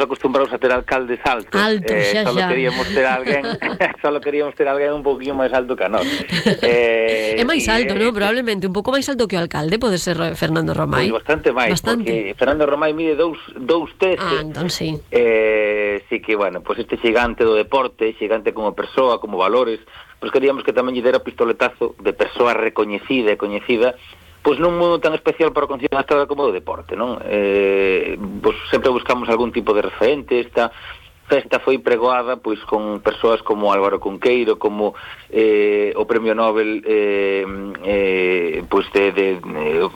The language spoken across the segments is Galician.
acostumbrados a ter alcaldes altos. Solo queríamos ter alguén un poquinho máis alto que a nós. É máis alto, non? Probablemente un pouco máis alto que o alcalde pode ser Fernando Romai. Pois bastante máis, porque Fernando Romai mide 2,13. Entón sí. Sí que, bueno, pues este xigante do deporte, xigante como persoa, como valores, pues queríamos que tamén lle dera o pistoletazo de persoa recoñecida e coñecida, pois nun mundo tan especial para o Concello da Estrada como do deporte, non? Pois sempre buscamos algún tipo de referente. Esta festa foi pregoada pois con persoas como Álvaro Cunqueiro, como o Premio Nobel, pois de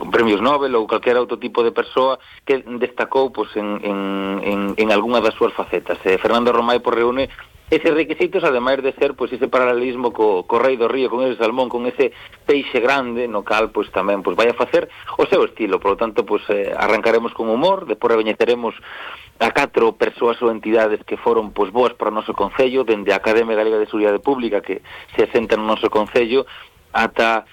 premios Nobel ou calquera outro tipo de persoa que destacou pois en algunha das súas facetas. Fernando Romai por reúne eses requisitos, ademais de ser pois ese paralelismo co Rei do Río, con ese salmón, con ese peixe grande, no cal pois tamén pois vai a facer o seu estilo. Por lo tanto, pois arrancaremos con humor, depois recoñeceremos a 4 persoas ou entidades que foron pois boas para o noso concello, dende a Academia Galega de Seguridade Pública, que se asenta no noso concello, ata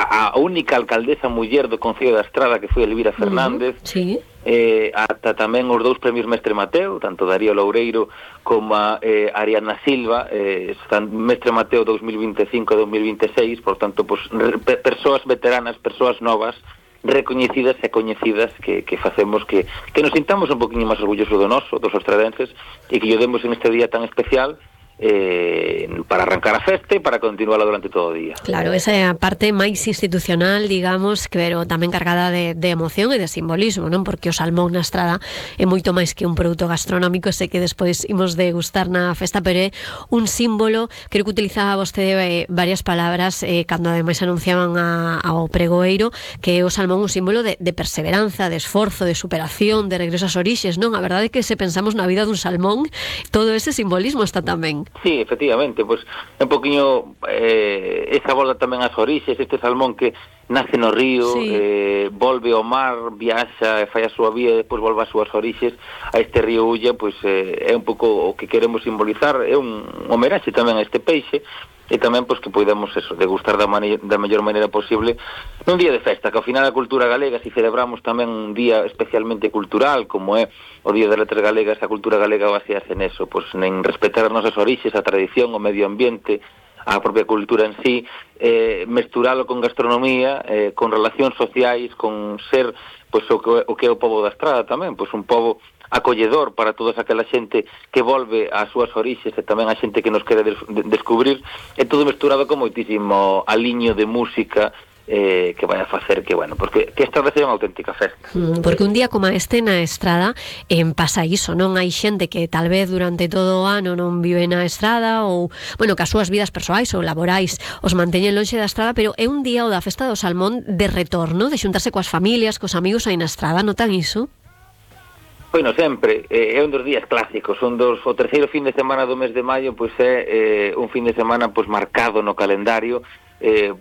a única alcaldesa muller do Concello da Estrada, que foi Elvira Fernández. Sí. Ata tamén os 2 premios Mestre Mateo, tanto Darío Loureiro como a Ariana Silva, están Mestre Mateo 2025 e 2026, por tanto, pues, persoas veteranas, persoas novas, recoñecidas e coñecidas que facemos que nos sintamos un poquinho máis orgullosos do noso, dos estradenses, e que lle demos en este día tan especial para arrancar a festa e para continuarla durante todo o día. Claro, esa é a parte máis institucional, digamos, pero tamén cargada de emoción e de simbolismo, non? Porque o salmón na Estrada é moito máis que un produto gastronómico, sei que despois imos degustar na festa, pero é un símbolo. Creo que utilizaba vostede varias palabras cando ademais anunciaban ao pregoeiro, que é o salmón un símbolo de perseveranza, de esforzo, de superación, de regreso ás orixes, non? A verdade é que se pensamos na vida dun salmón, todo ese simbolismo está tamén. Sí, efectivamente, pois un poquinho esa volta tamén ás orixes, este salmón que nace no río, sí, volve ao mar, viaxa, fai a súa vía e depois volve ás súas orixes a este río Ulla, pois é un pouco o que queremos simbolizar, é un homenaxe tamén a este peixe, e tamén pois que podemos eso, degustar da mellor maneira posible nun día de festa, que ao final a cultura galega, se celebramos tamén un día especialmente cultural, como é o Día das Letras Galegas, a cultura galega basease neso, pois en respetar as nosas orixes, a tradición, o medio ambiente, a propia cultura en sí, mesturalo con gastronomía, con relacións sociais, con ser pois o que é o pobo da Estrada tamén, pois un pobo acolledor para toda aquela xente que volve ás súas orixes e tamén a xente que nos quere descubrir, é todo mesturado con moitísimo aliño de música que vai a facer que, bueno, porque que esta vez é unha auténtica festa. Porque un día como este na Estrada pasa iso, non? Hai xente que tal vez durante todo o ano non vive na Estrada ou, bueno, que as súas vidas persoais ou laborais os manteñen lonxe da Estrada, pero é un día o da Festa do Salmón de retorno, de xuntarse coas familias, cos amigos aí na Estrada, notan iso? Bueno, sempre, é un dos días clásicos, o terceiro fin de semana do mes de maio, pois é un fin de semana pois marcado no calendario,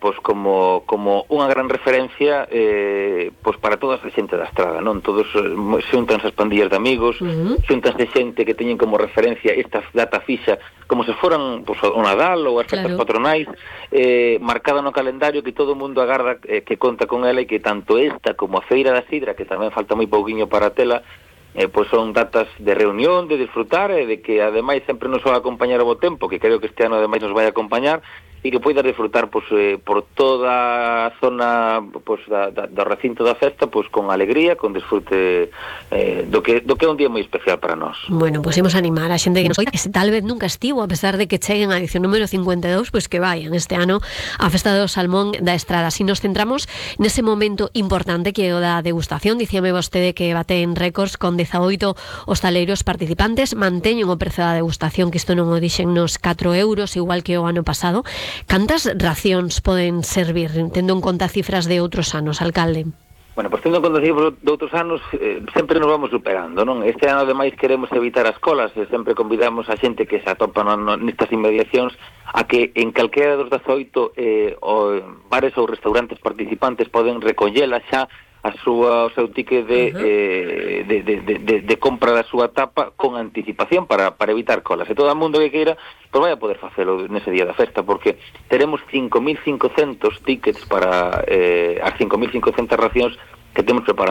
pois como unha gran referencia pois para toda a xente da Estrada, non? Todos xuntanse as pandillas de amigos, xuntanse xente que teñen como referencia esta data fixa como se foran pois, o Nadal ou as festas patronais, marcada no calendario, que todo o mundo agarda que conta con ela, e que tanto esta como a Feira da Sidra, que tamén falta moi pouquiño para a tela, pois son datas de reunión, de disfrutar, e de que ademais sempre nos vai acompañar o bo tempo, que creo que este ano ademais nos vai acompañar, e que poidas disfrutar pois, por toda a zona pois, do recinto da festa, pois, con alegría, con disfrute do que é un día moi especial para nós. Bueno, pois imos animar a xente que nos oiga, que tal vez nunca estivo, a pesar de que cheguen a edición número 52, pois que vayan este ano a Festa do Salmón da Estrada. Si nos centramos nese momento importante que é o da degustación, dicíame vostede que baten récords con 18 hostaleiros participantes, manteñen o prezo da degustación, que isto non o dixen nos 4 euros, igual que o ano pasado. Cantas racións poden servir, tendo en conta cifras de outros anos, alcalde? Bueno, pois tendo en conta cifras de outros anos, sempre nos vamos superando, non? Este ano, ademais, queremos evitar as colas, e sempre convidamos a xente que se atopa nestas inmediacións a que en calquera dos 18 bares ou restaurantes participantes poden recollela xa o seu ticket de compra da súa tapa con anticipación para evitar colas. E todo o mundo que queira pois vai a poder facelo nese día da festa, porque teremos 5.500 tickets para as 5.500 racións que temos preparadas.